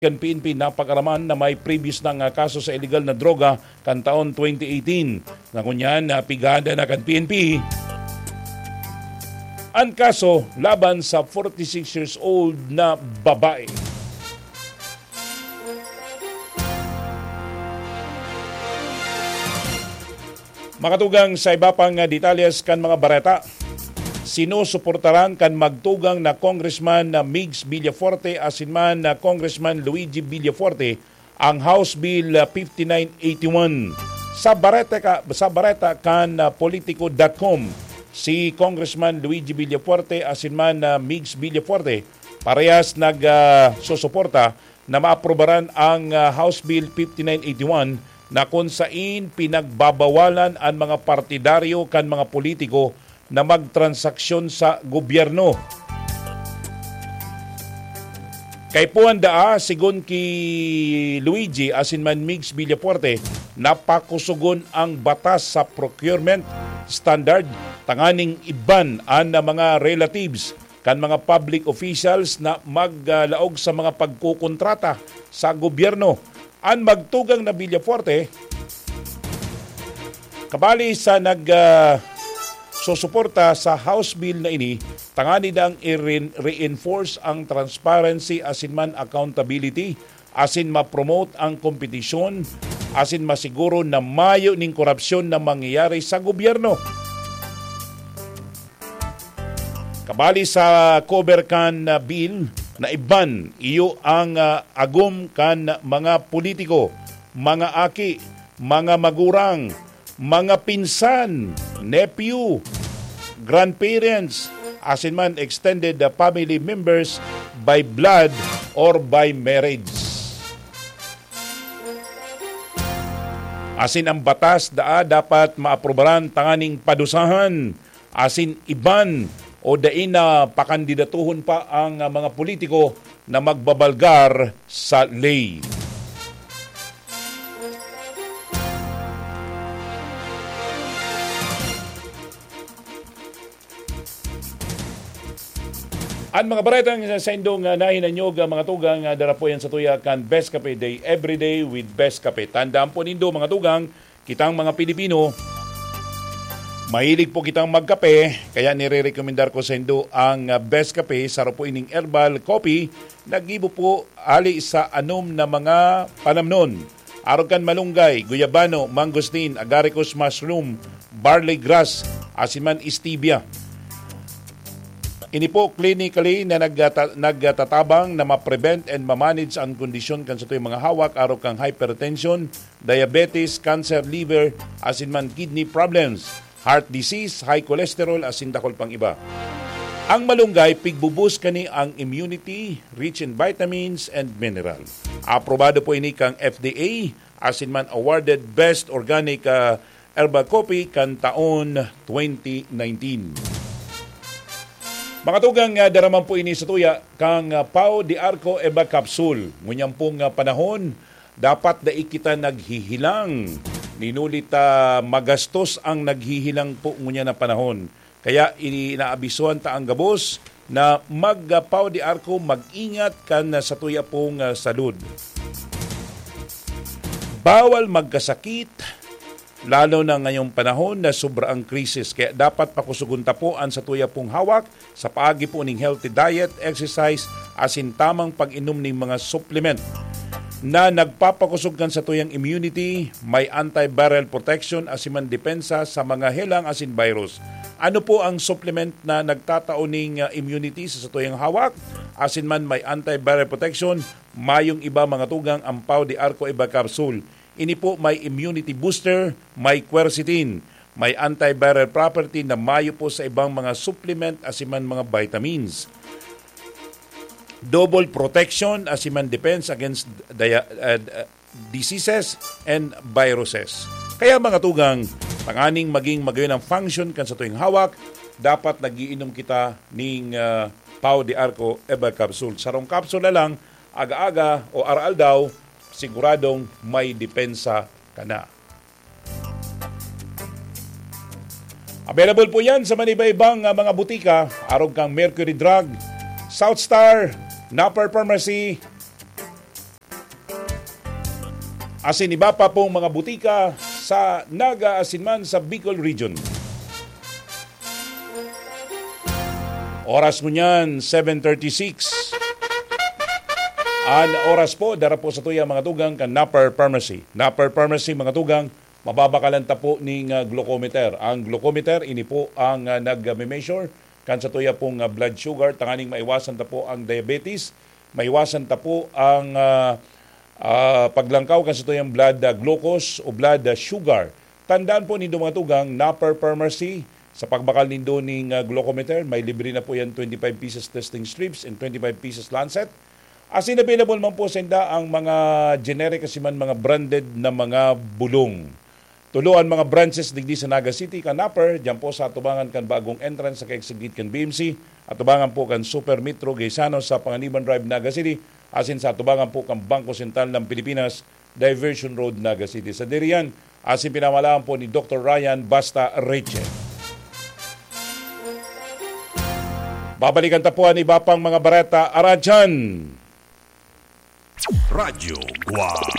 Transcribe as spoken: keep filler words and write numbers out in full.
kan P N P napag-araman na may previous na nga kaso sa iligal na droga kan taon twenty eighteen. Ngunyan, napigada na kan P N P ang kaso laban sa forty-six years old na babae. Makatugang sa iba pang, ah, detalles kan mga bareta. Sinusuportaran kan magtugang na Congressman na Migs Villafuerte asin man na Congressman Luigi Villafuerte ang House Bill, ah, fifty-nine eighty-one. Sa bareta ka, sa bareta kan, ah, politico dot com, si Congressman Luigi Villafuerte asin man na Migs Villafuerte parehas nag, ah, susuporta na maaprobaran ang, ah, House Bill fifty-nine eighty-one na kun sain pinagbabawalan an mga partidaryo kan mga politiko na magtransaksyon sa gobyerno. Kaipuhan daa, sigon ki Luigi asin man Migs Villafuerte, napakusugon ang batas sa procurement standard tanganing iban an mga relatives kan mga public officials na maglaog sa mga pagkokontrata sa gobyerno. An magtugang na Villafuerte, kabali sa nag, ah, susuporta sa House Bill na ini, tangani dang i-rein-, reinforce ang transparency asin man accountability, asin ma-promote ang kompetisyon, asin masiguro na mayo ning korupsyon na mangyayari sa gobyerno. Kabali sa cover kan, ah, bill na iban, iyo ang, ah, agom kan mga politiko, mga aki, mga magurang, mga pinsan, nephew, grandparents, asin man extended, ah, family members by blood or by marriage. Asin ang batas daa dapat maaprobaran tanganing padusahan asin iban o dai na pakandidatuhon pa ang, ah, mga politiko na magbabalgar sa ley. An mga baretang sa, sa indong, ah, nahinanyog, ah, mga tugang, ah, dara po yan sa tuya kan Best Cafe Day, Everyday with Best Cafe. Tandaan po nindo, mga tugang, kitang mga Pilipino, mahilig po kitang magkape, kaya nirerekomendar ko sa indo ang, ah, Best Cafe, saro po ining herbal coffee, naggibo po hali sa anom na mga panamnon. Arog kan malunggay, guyabano, mangosteen, agaricus mushroom, barley grass, asin man stevia. Ini po clinically na nagata-, nagtatabang na ma-prevent and ma-manage ang kondisyon kan satuyang mga hawak, arog kan hypertension, diabetes, cancer, liver, asin man kidney problems, heart disease, high cholesterol, asin dakul pang iba. Ang malunggay, pigbubus kani ang immunity, rich in vitamins and mineral. Aprobado po ini kang F D A, asin man awarded Best Organic, ah, Herbal Coffee kan taon twenty nineteen. Mga tugang, ah, dara man po ini sa tuya kang, ah, Pau de Arco Eva Capsule. Ngunyan pong, ah, panahon, dapat dai kita naghihilang. Ninuli ta magastos ang naghihilang po ngunyan na panahon. Kaya inaabisuhan ta ang gabos na mag, ah, Pau de Arco, mag-ingat kan, ah, satuya pong, ah, salud. Bawal magkasakit, lalo na ngayong panahon na sobra ang krisis. Kaya dapat pakusugon ta po an satuya pong hawak sa paagi po ning healthy diet, exercise, asin tamang pag-inom ning mga supplement na nagpapakusog kan satuyang immunity, may antiviral protection, asin man depensa sa mga helang asin virus. Ano po ang supplement na nagtatao ning, ah, immunity sa satuyang hawak? Asin man may antiviral protection, mayong iba mga tugang ang Pau de Arco Eva Capsule. Ini po may immunity booster, may quercetin, may antiviral property na mayo po sa ibang mga supplement asin man mga vitamins. Double protection asin man defense against dia-, uh, uh, diseases and viruses. Kaya mga tugang, tanganing maging magayon ang function kan satuyang hawak, dapat nagiinom kita ning, ah, Pau de Arco Eva Capsule. Sarong kapsula lang, aga-aga o araw-aldaw, siguradong may depensa ka na. Available po yan sa maniba-ibang, ah, mga butika, arog kang Mercury Drug, South Star, Napper Pharmacy, asin iba pa pong mga butika sa Naga asin man sa Bicol Region. Oras ngunyan, seven thirty-six. An oras po, dara po sa tuya mga tugang kan Napper Pharmacy. Napper Pharmacy, mga tugang, mababakalan ta po ning, ah, glucometer. Ang glucometer, ini po ang, ah, nag-measure kan sa tuya pong, ah, blood sugar, tanganing maiwasan ta po ang diabetes, maiwasan ta po ang, ah, ah, paglangkaw kan sa tuyang blood, ah, glucose o blood, ah, sugar. Tandaan po nindo mga tugang, Napper Pharmacy, sa pagbakal nindo ning, ah, glucometer, may libre na po yan twenty-five pieces testing strips and twenty-five pieces lancet. Asin available man po sa inda ang mga generic asin man mga branded na mga bulong. Tulo an mga branches digdi sa Naga City kan Napper, diyan po sa atubangan kan bagong entrance sa kaigsigit kan B M C, atubangan po kan Super Metro Gaisano sa Panganiban Drive, Naga City, asin sa atubangan po kan Bangko Sentral ng Pilipinas, Diversion Road, Naga City. Sa diriyan, asin pinamalaan po ni Doktor Ryan Basta Reche. Babalikan ta po an iba pang mga bareta, aradyan. Radyo Guwang.